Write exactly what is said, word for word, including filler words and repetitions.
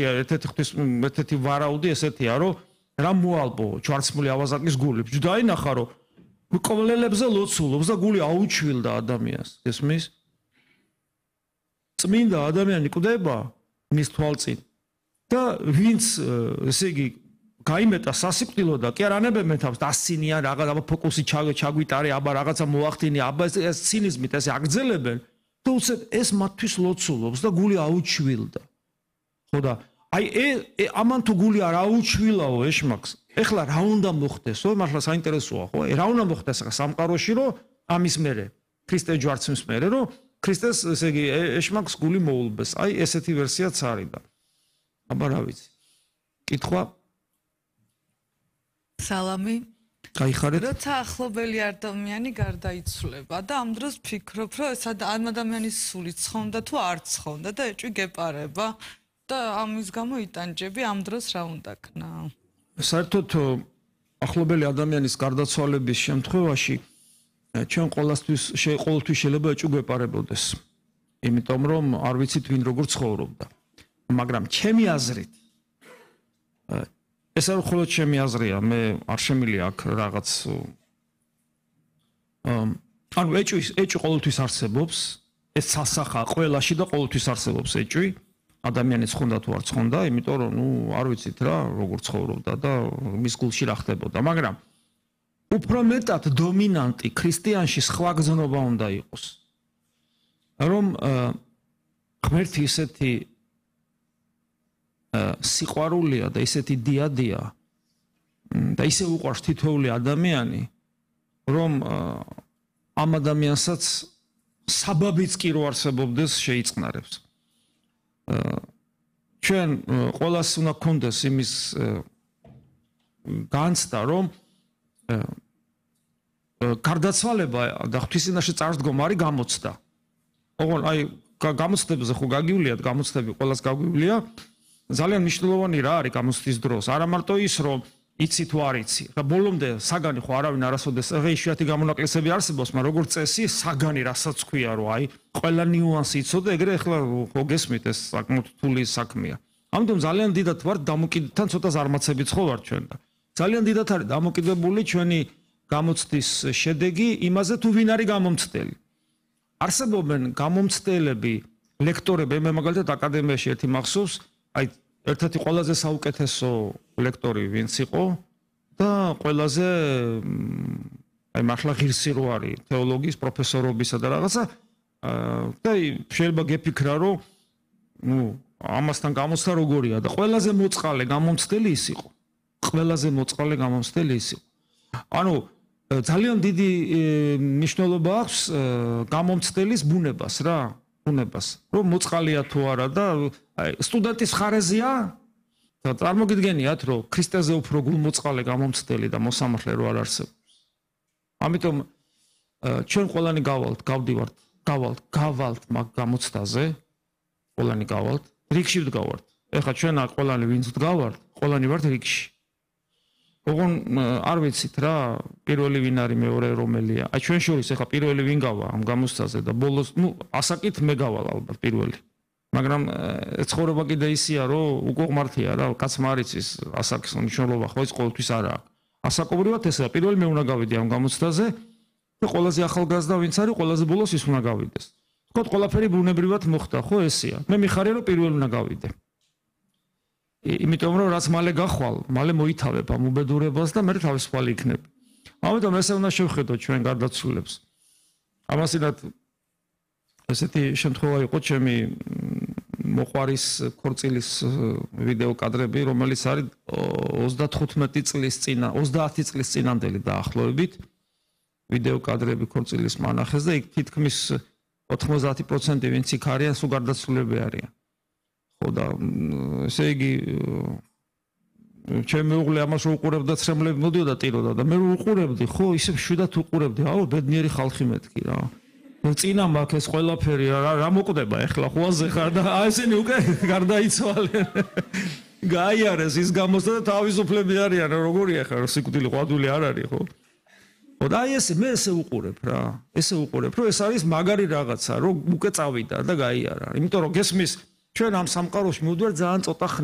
ერთ-ერთი ერთ-ერთი ღვთის ერთ-ერთი ვარაუდი ესეთია, რომ რა მოალბო ჯვარცმული ავაზაკის გული. დაინახა, რომ მკვლელებზე ლოცულობს და გული აუჩვილდა ადამიანს. ესმის? წმინდა ადამიანი კვდება მის თვალწინ და ვინც ესე იგი გაიმეტა სასიკვდილო და კი არ ანებებენ თავს დასცინიან რაღაც აბა ფოკუსი ჩაგვიტარე აბა რაღაცა მოახდინი აბა ეს ცინიზმით ესე აგძელებენ და უცებ ეს მათთვის ლოცულობს და გული აუჩვილდა. ხო და აი ამან თუ გული არ აუჩვილაო ეშმაკს ეხლა რა უნდა მოხდესო მართლა საინტერესოა ხო რა უნდა მოხდეს სამყაროში რომ ამის მერე ქრისტე ჯვარცმის მერე რომ ქრისტეს ესე იგი ეშმაკს გული მოულბეს აი ესეთი ვერსიაც არის და აბა რა ვიცი კითხვა სალამი გაიხარეთ როცა ახლობელი ადამიანი გარდაიცვლება და ამ დროს ფიქრობ რომ ეს ადამიანის სული ცხონდა თუ არ ცხონდა და ეჭვი გეპარება და ამის გამო იტანჯები ამ დროს რა უნდა ქნა საერთოდ ახლობელი ადამიანის გარდაცვალების შემთხვევაში ჩვენ ყოველთვის ყოველთვის შეიძლება ეჭვი გვეპარებოდეს იმიტომ რომ არ ვიცით ვინ როგორ ცხოვრობდა მაგრამ ჩემი აზრით ეს არ მხოლოდ ჩემი აზრია მე არ შემიძლია აქ რაღაც ანუ ეჭვი ეჭვი ყოველთვის არსებობს ეს სასახა ყველაში და ყოველთვის არსებობს ეჭვი ადამიანის ცხონდა თუ არ ცხონდა იმიტომ რომ ნუ არ ვიცით რა როგორ ცხოვრობდა და მის გულში რა ხდებოდა მაგრამ უფრო მეტად დომინანტი ქრისტიანში სხვა გზნობა უნდა იყოს რომ ღმერთი ისეთი სიყვარულია და ისეთი დიადია და ისე უყვარს თითოეული ადამიანი რომ ამ ადამიანსაც საბაბიც კი რო არსებობდეს შეიწყნარებს ჩვენ ყველას უნდა გქონდეს იმის განცდა რომ გარდაცვალება და ღვთისინაში წარსდგომა არის გამოცდა ოღონ აი გამოცდებზე ხო გაგიuliათ გამოცდები ყველას გაგვიulia ძალიან მნიშვნელოვანი რა არის გამოცდის დროს არა მარტო ის რომ იცი თუ არ იცი და ბოლომდე საგანი ხო არავინ არასოდეს ღეიშვიათი გამონაკლისები არსებობს მაგრამ როგორც წესი საგანი რასაც ქვია რომ აი ყველა ნიუანსი იცოდე ეგრე ახლა ხო გესმით ეს საკმაოდ რთული საქმეა ამიტომ ძალიან დიდად ვარ დამოკიდებულთან ცოტა ზარმაცებიც ხო ვარ ჩვენ და ძალიან დიდად არის დამოკიდებული ჩვენი გამოცდის შედეგი იმაზე თუ ვინ არის გამომცდელი არსებობენ გამომცდელები ლექტორები მე მაგალითად აკადემიაში ერთი მახსოვს აი ერთ-ერთი ყველაზე საუკეთესო ლექტორი ვინც იყო და ყველაზე აი მართლა ღირსი რო არის თეოლოგიის პროფესორობისა და რაღაცა და შეიძლება გეფიქრა რომ ნუ ამასთან გამოცდა როგორია და ყველაზე მოწყალე გამომცდელი ის იყო ყველაზე მოწყალე გამომცდელი ის იყო ანუ ძალიან დიდი მნიშვნელობა აქვს გამომცდელის ბუნებას რა უნებას რომ მოწყალია თუ არა და სტუდენტის ხარეზია და წარმოგიდგენიათ რომ ქრისტეზე უფრო გულმოწყალე გამომცდელი და მოსამართლე რო არ არსებობს ამიტომ ჩვენ ყველანი გავალთ გავდივართ გავალთ გავალთ მაგ გამოცდაზე ყველანი გავალთ რიგში ვდგავართ ეხლა ჩვენ ყველანი ვინც ვდგავართ ყველანი ვართ რიგში ოღონ არ ვიცით რა პირველი ვინ არის მეორე რომელია აი ჩვენ შორის ეხლა პირველი ვინ გავა ამ გამოცდაზე და ბოლოს ნუ ასაკით მე გავალ ალბათ პირველი მაგრამ ცხოვრება კიდე ისია რომ უკვე ღმართია რა კაცმა არ იცის ასაკის მნიშვნელობა ხო ის ყოველთვის არა აქვს ასაკობრივად ესაა პირველი მე უნდა გავიდე ამ გამოცდაზე და ყველაზე ახალგაზრდა ვინც არის ყველაზე ბოლოს ის უნდა გავიდეს თქო ყველაფერი ბუნებრივად მოხდა ხო ესეა მე მიხარია რომ პირველი უნდა გავიდე იმიტომ რომ რაც მალე გახვალ, მალე მოითავებ ამ უბედურებას და მე თავისუფალი იქნებ. ამიტომ ესე უნდა შევხედოთ ჩვენ გარდაცვლილებს. ამასინად ესეთი შემთხვევა იყო ჩემი მოყვარის ქორწილის ვიდეო კადრები, რომელიც არის ოცდათხუთმეტი წლის წინა, ოცდაათი წლის წინანდელი დაახლოებით ვიდეო კადრები ქორწილის მანახეს და იქ თითქმის ოთხმოცდაათი პროცენტი ვინც იქ არიან, სულ გარდაცვლილები არიან. ხო და ესე იგი ჩემი მეუღლე ამას უყურებდა ცრემლები მოდიოდა ტიროდა და მე უყურებდი ხო ისე შვიდათ უყურებდი აუ ბედნიერი ხალხი მეთქი რა წინა მაქვს ეს ყველაფერი რა რა მოკვდება ეხლა ხوازე ხარ და ესენი უკვე გარდაიცვალენ გაიარეს ის გამოსდა და თავისუფლები არიან როგორია ხარ სიკვდილი ყვადული არ არის ხო ხო და აი ესე მე ესე უყურებ რა ესე უყურებ რომ ეს არის მაგარი რაღაცა რომ უკვე წავიდა და გაიარა იმიტომ რომ გესმის ჩვენ ამ სამყაროში მოვდივარ ძალიან ცოტა ხნით